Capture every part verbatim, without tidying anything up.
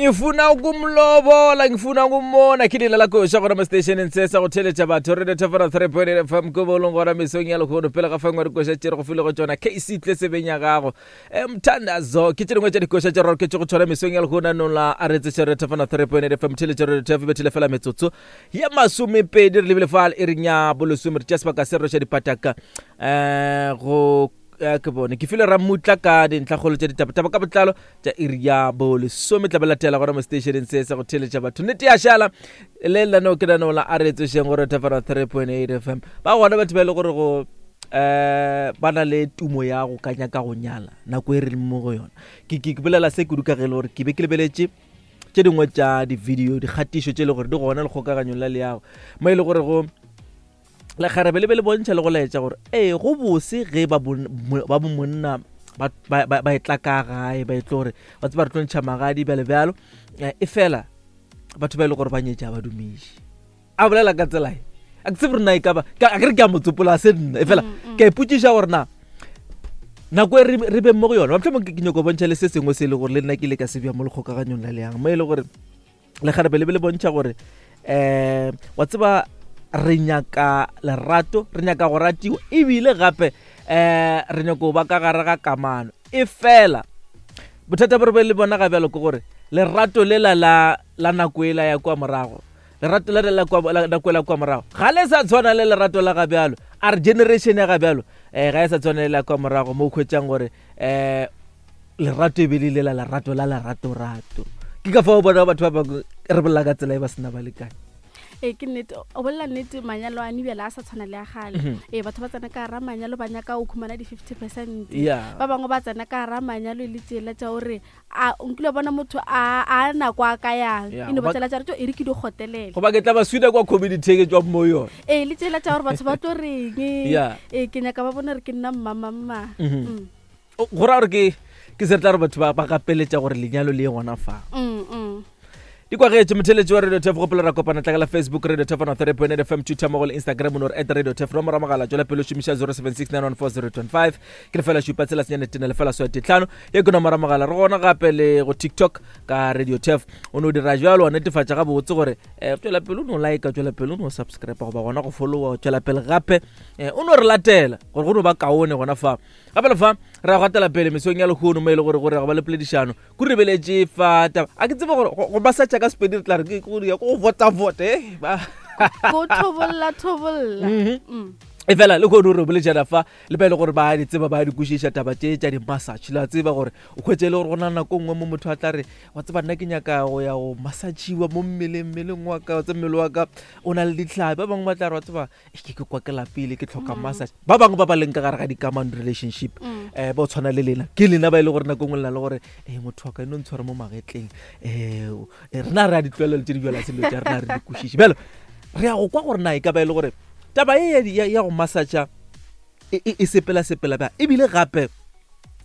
Ngifuna ukumlobola, ngifuna ukummona. Ke lela la koša gona mo stationeng se sa go theletša batho Radio Thefera three point eight F M ko bolong gona mesong ya lehono. Pele ga fangwa dikoša tše re go file go tšona K C tle sebeng ya gago. Mthandazo ke tše dingwe tša dikoša tše re roketše go tšona mesong ya lehono anong la a re tseše Radio Thefera three point eight F M theletša Radio Thefera bethile fela metsotso ya masomepedi re lebile fa e reng ya bolesome re tšea sebaka se re roša dipataka eh go ke bone ke file Ramutla ka dintlhakgolo tša ditaba ka botlalo tša iri ya bolesome tla ba latela gona mo stationeng se sa go theletša batho nnete ya šala le lenaneo ke lenaneo la a re tsošeng gore Thefera three point eight F M ba gona batho ba e le gore go eh ba na le tumo ya go ka nyaka go nyala nako e re leng mo go yona ke ke bolela se kudu ka ge le gore ke be ke lebeletše tše dingwe tša di-video dikgatišo tše e le gore di gona lekgokaganyong la leago mo e le gore go lekgarebe le be le bontšha le go laetša gore ee go bose ge ba ba monna ba ba e tla ka gae ba e tlo gore ba tseba re tlo ntšha magadi bjale bjalo e fela batho ba e le gore ba nyetša ba dumiše a bolela ka tsela e a ke tsebe rena e ka ba a ke re ke a motsopola se nna e fela ke a ipotšiša gore na nako e re beng mo go yona mohlomong ke nyako bontšha le se sengwe se e le gore le nna ke ile ka se bja mo lekgokaganyong la leang mo e le gore lekgarebe le be le bontšha gore um wa tseba re nyaka lerato re nyaka go ratiwa ebile gape um re nyako ba ka gare ga kamano e fela bothata bo re be le bona ga bjalo ke gore lerato lela la la nako ela ya kwa morago lerato la la kwa nako ela kwa morago ga le sa tshwana le lerato la ga bjalo a re generation ya ga bjalo um ga e sa tshwana le la kwa morago mo o hwetšang gore um lerato e be le lela lerato la leratorato ke ka fao bona batho ba bangwe re bolela ka tsela e ba sena balekane. E ke nnete o bolela nnete manyalo a nibela a sa tshwana le a gale e batho ba tsena ka ra manyalo ba nyaka o khumana di fifty percent ba bangwe ba tsena ka ra manyalo e le tsela tša gore a nkile bona motho a a nako a ka yang e no ba tsela tša re e re ke di gotelele goba ke tla ba swida kwa community ke tswa mo yona e le tsela tša gore batho ba tlo reng e ke nyaka ba bona re ke nna mmama mma go ra gore ke ke se re tla re batho ba ba gapeletša gore lenyalo le ye gona fa di kwagetše motheletši wa Radio Thef gopola ra kopana tlakela Facebook Radio Thef on three point eight F M Twitter mo go le Instagram no at Radio Thef nomoro mogala tšwela pele o šomiša zero seven six nine one four zero two five ke lefela šupa tsela senyane tene lefela swete tlhano ye ke nomoro mogala re gona gape le go TikTok ka Radio Thef o no dira jalo wa netefatša gabotse gore um tšwela pele o no like tšwela pele o no subscribe goba gona go followa tšwela pele gape o no re latela gore go no ba kaone gona fa gape le fa re gatela pele mesong ya lehono mo e le gore gore go ba le poledišano ku rebeletše fa taba a ke tsebe gore go masatša ka Sepedi re tla re ke go ya go vota vote eh ba go thobolla thobolla e fela le go re boletšana fa le ba ile gore ba di tseba ba di kwešiša taba tše tša di-massage la tseba gore o hwetše le gore go na nako nngwe mo motho a tla re wa tseba nna ke nyaka go ya go massagiwa mo mmeleng mmeleng wa ka wa tse mmele wa ka o na le ditlhabi ba bangwe ba tla re wa tseba ke ke kwa ke lapile ke tlhoka massage ba bangwe ba ba leng ka gare ga dikamano relationship um ba o tshwana le lena ke lena ba e le gore nako nngwe le na le gore e motho wa ka e no ntshware mo magetleng um rena re a ditlwaelelo tše di bjala selo tša rena re di kwešiše bjalo re ya go kwa gore na e ka ba e le gore taba e ya go massage e sepela sepela ba ebile gape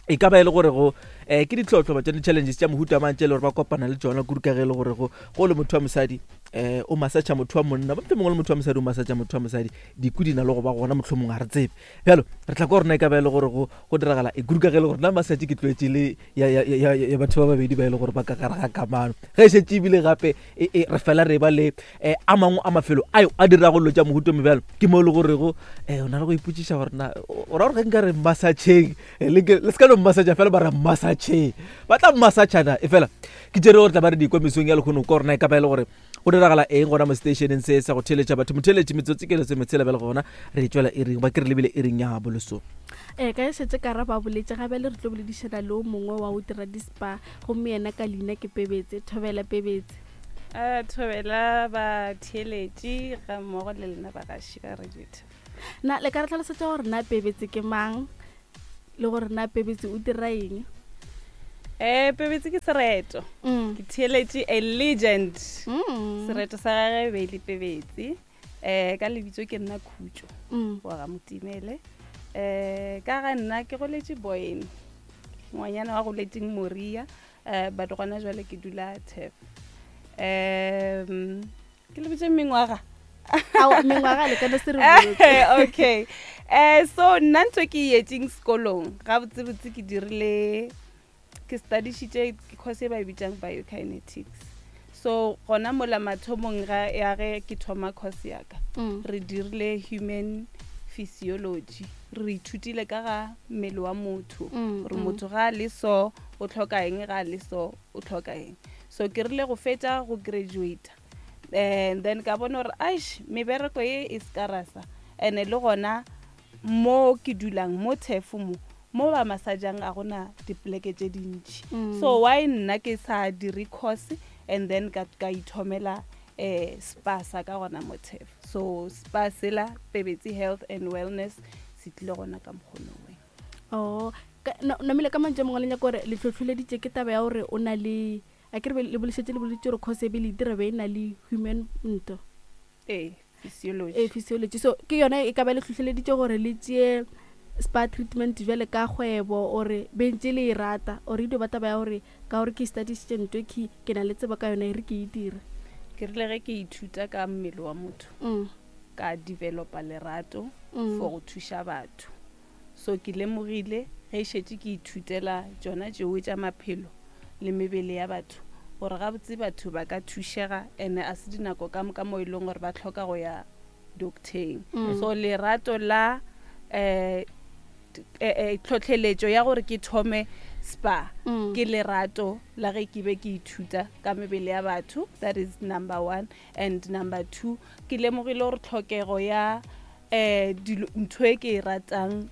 e ka ba e le gore go um ke ditlhotlho ba tša di-challenges tša mohuta mang tše e le gore ba kopana le tšona kudu ka ge e le gore go go le motho wa mosadi um o massage motho wa monna ba mohlomongwe le motho wa mosadi o massage motho wa mosadi diku di na le go ba gona mohlomongwe ga re tsebe bjalo re tla kwa rona e ka ba e le gore go go diragala e kudu ka ge e le gore nna massage ke tlwaetše le ya batho ba babedi ba e le gore ba ka gare ga kamano ge e šetše ebile gape re fela re ba le a mangwe a mafelo ayo a dirago dilo tša mohuto mebjalo ke mo e le gorego um o na le go ipotšiša gore na o ra gore ge nka re massageng le se ka no massage fela ba re massageng ba tla massagana e fela ke tšere gore tla ba re dikwa mesong ya lehono ka gorena e ka ba e le gore go diragala eng gona mo stationeng se sa go theletša batho motheletši metsotsi ke lesometshela bjale gona re tšwela iring ba ke re lebile iring ya bolesome ee ka e šetse ka ra ba boletše gape le re tlo boledišana le o mongwe wa go dira di-spa gomme yena ka leina ke Pebetse Thobela Pebetse a thobela ba theeletši ga mmogo le lena bagaši ba Radio Thef na le ka re tlhalosetša gore na Pebetse ke mang le gore na Pebetse o dira eng Eh Pebetse ke sereto ke theeletše a legend sereto sa gagwe be le Pebetse eh ka lebitso ke nna Khutšo wa ga Motimele eh ka ga nna ke goletše Boyne ngwanyana wa goletseng Moria eh but gona jwale ke dula Thef um ke lebitse mengwaga ao mengwaga le kana se re botse okay eh so nna ntho ke yetseng sekolong ga botsebotse ke dirile Ke studišitše course e ba e bitsang biokinetics. So gona mola mathomong ga ya ge ke thoma course ya ka, Mm. re dirile human physiology, re ithutile ka ga mmele wa motho, Mm, gore mm. motho ga a le so o tlhoka eng, ga a le so o tlhoka eng. So ke rile go fetša go graduate, and then ka bona gore aish, mebereko ye e scarasa, and-e le gona mo ke dulang mo Thefo, mo mo ba massageng a gona dipoleke tše dintši. Mm. So why nna ke sa dire course and then ka, ka ithomela um spa sa ka gona mo Thefo? So spa sela, Pebetsi Health and Wellness, se tlile gona ka mokgonoweng. Oh, ka- no- namile ka mantšu a mangwe le nyaka gore le tlhotlholeditše ke taba ya gore o na le, a ke re be- le bolešetse le boletse gore course e be le e dira be e na le human nto. Ee, physiology. E physiology. So ke yona e ka ba le tlhotlheleditše gore le tšee spa treatment bjale ka kgwebo, ore be ntše le e rata, ore e dio ba taba ya gore ka gore ke studišitše ntho e ke ke na le tsebo ka yona, e re ke e dire? Ke rile ge ke ithuta ka mmele wa motho, Mm. ka developa lerato Mm. for go thuša batho. So ke lemogile ge e šetše ke ithutela tšona tšeo tša maphelo le mebele ya batho, gore gabotse batho ba ka thušega, and a se dinako ka moka mo e leng gore ba tlhoka go ya docteng. Mm. So lerato la um tlhotlheletšo ya gore ke thome spa Mm. ke lerato la ge ke be ke ithuta ka mebele ya batho. That is number one. And number two, ke lemogile gore tlhokego ya um ntho e ke e ratang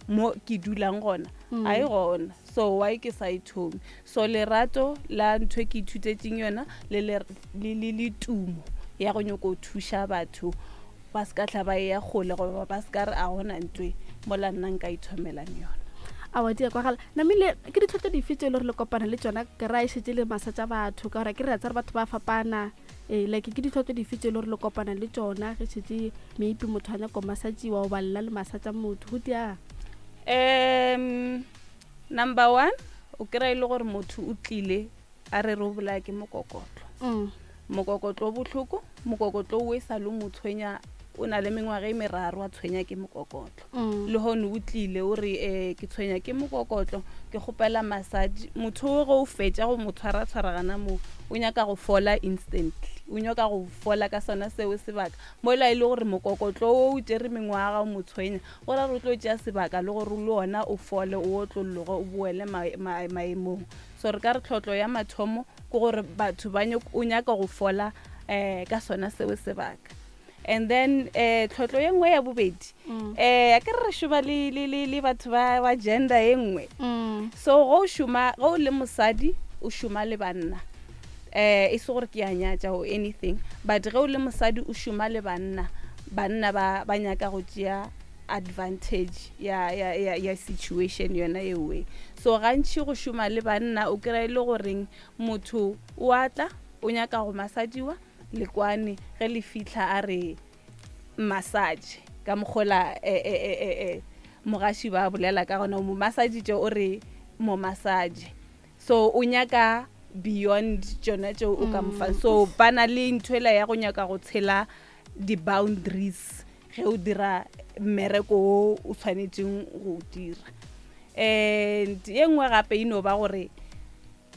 mo ke dulang gona Mm. a e gona, so why ke sa e thome? So lerato la ntho e ke ithutetseng yona le le- le le le tumo ya go nyako thuša batho ba se ka tla ba e ya kgole, goba ba se ka re a gona ntwe mola nna nka ithomelang yona. Aowa, di a kwagala. Namile ke ditlhotlo dife tse e le gore le kopana le tsona ke ra e šetse le massage batho? Ka gore ke re a tsare batho ba fapana, ee, like ke ditlhotlo dife tse e le gore le kopana le tsona ge šetse maybe motho a nyako massagiwa, goba lla le massage motho go dia? um number one, o kry-a e le gore motho o tlile a re re o bolaya ke mokokotlo. Mm. Mokokotlo o bohloko, mokokotlo o e sa le mo tshwenya, o na le mengwaga e meraro a tshwenya ke mokokotlo. Mm. Le gone o tlile o re um ke tshwenya ke mokokotlo, ke kgopela massage. Motho o ge o fetša go mo tshwara-tshwara gana moo, o nyaka go fola instantly, o nyaka go fola ka sona seo sebaka, mola e le gore mokokotlo o o tšere mengwaga o mo tshwenya, go ra re o tlo tšea sebaka le gore le ona o fole, o otlolloge, o boele ma- ma- maemong. So re ka re tlhotlo ya mathomo ke gore batho ba nyako- o nyaka go fola um ka sona seo sebaka. And then um tlhotlo ye nngwe ya bobedi, Mm. um a ke re re šoma le, le, le, le batho ba, ba gender ye nngwe. Mm. So go o šoma, ge o le mosadi o šoma le banna, um e se gore ke a nyatša or anything, but ge o le mosadi o šoma le banna, banna ba, ba nyaka go tšea advantage ya, ya, ya, ya situation yona ewe. So gantši go šoma le banna o kry-a e le goreng motho o atla o nyaka go massadiwa le kwane, ge le fitlha a re massage ka mokgola, eh, eh, eh, eh, eh, mogaši ba bolela ka gona, o mo massagitše, o re mo massage. So o nyaka beyond tšona tšeo o ka mo fang. So ba na le ntho ela ya go nyaka go tshela di-boundaries ge o dira mmereko o o tshwanetseng go o dira. And ye nngwe gape e no ba gore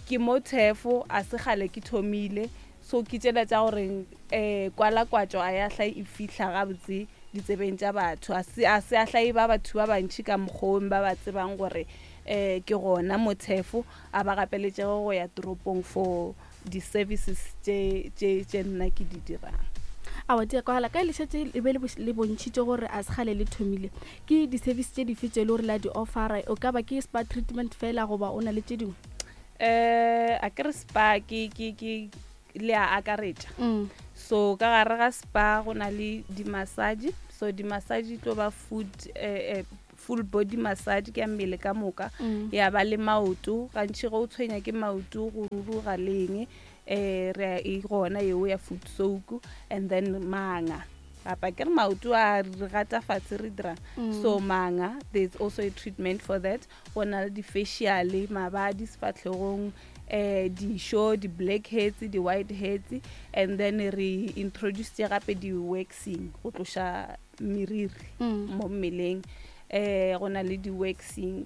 ke mo Thefo, a se kgale ke thomile, so ke tšela tša gore um kwalakwatšo a ya hla e fihla gabotse ditsebeng tša batho, a se a se a hla e ba batho ba bantši ka mokgwong ba ba tsebang gore um ke gona mo Thefo, a ba gapeletšego go ya toropong for di-services tše tše tše nna ke di dirang. Aowa, di a kwagala. Ka le šetše le be le bo- le bontšhitše gore a se kgale le thomile, ke di-service tše dife tše e le gore la di offera? O ka ba ke spa treatment fela, goba o na le tše dingwe? um a ke re spa ke ke ke le a akaretša. Mm. So ka gare ga spa go na le di-massage. So di-massage e tlo ba food eh, eh, full body massage, ke ya mmele ka moka. Mm. Ya ba le maoto, gantši ge o tshwenya ke maoto go ruruga leng, um re a e gona yeo ya foot soak. And then manga gapa ke re maoto a re gata fatshe re dirang. Mm. So manga, there's also a treatment for that. Go na le di-facial, mabadi sefatlhegong, um dišo, di-black heads, di-white heads. And then re introducetse gape di-waxing go tloša meriri Mm. mo mmeleng. um go na le di-waxing.